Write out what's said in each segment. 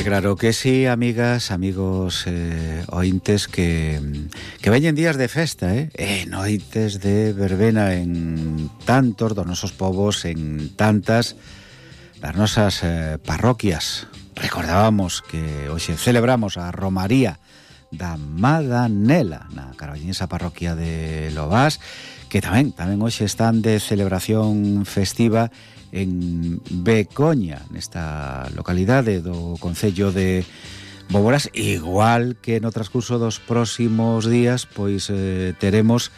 claro que sí, amigas, amigos ointes que veñen días de festa, noites de verbena en tantos dos nosos povos, en tantas das nosas parroquias. Recordábamos que hoxe celebramos a Romaría da Madanela na carballiñesa parroquia de Lobás, que tamén hoxe están de celebración festiva en Becoña, nesta localidade do concello de Boborás, igual que no transcurso dos próximos días, pois teremos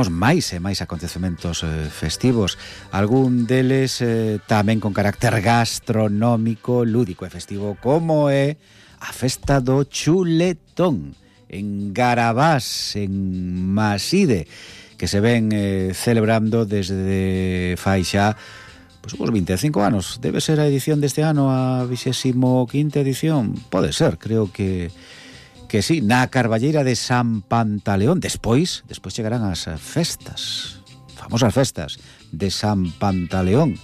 máis e máis acontecementos festivos, algún deles tamén con carácter gastronómico, lúdico e festivo, como é a festa do chuletón en Garabás, en Maside, que se ven celebrando desde fai xa os 25 anos. Debe ser a edición deste ano a 25ª edición. Pode ser, creo que sí, na Carballeira de San Pantaleón. Despois chegarán as festas, famosas festas de San Pantaleón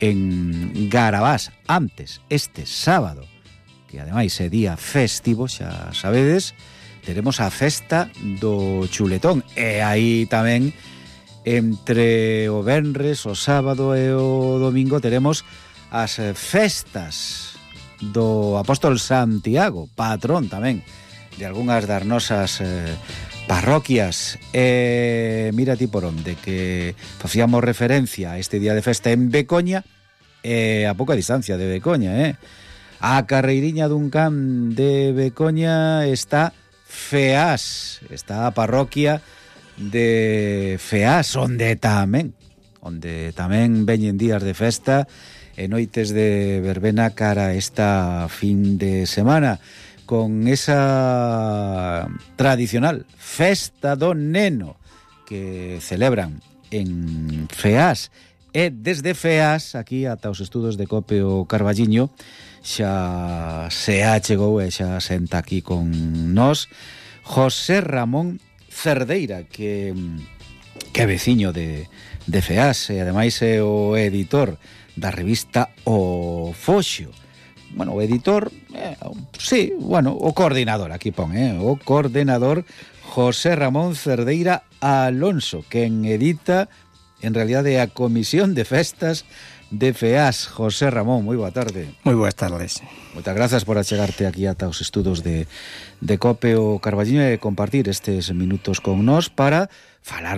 en Garabás. Antes, este sábado, que ademais é día festivo, xa sabedes, teremos a festa do chuletón. E aí tamén, entre o venres, o sábado e o domingo, teremos as festas do Apóstol Santiago, patrón tamén de algunhas das nosas parroquias. Mira ti por onde, que facíamos referencia a este día de festa en Becoña, a pouca distancia de Becoña, a carreiriña dun can de Becoña está Feás, está a parroquia de Feás, onde tamén veñen días de festa e noites de verbena cara esta fin de semana, con esa tradicional festa do neno que celebran en Feás. E desde Feás, aquí ata os estudos de Cope o Carballiño, xa se achegou e xa senta aquí con nós José Ramón Cerdeira, que é veciño de Feás e ademais é o editor da revista O Foxo. Bueno, o editor, o coordinador, aquí pon, o coordinador José Ramón Cerdeira Alonso, quen edita en realidade a Comisión de Festas de Feás. José Ramón, moi boa tarde. Moi boas tardes. Moitas grazas por achegarte aquí ata os estudos de Cope o Carballiño e compartir estes minutos con nós para falar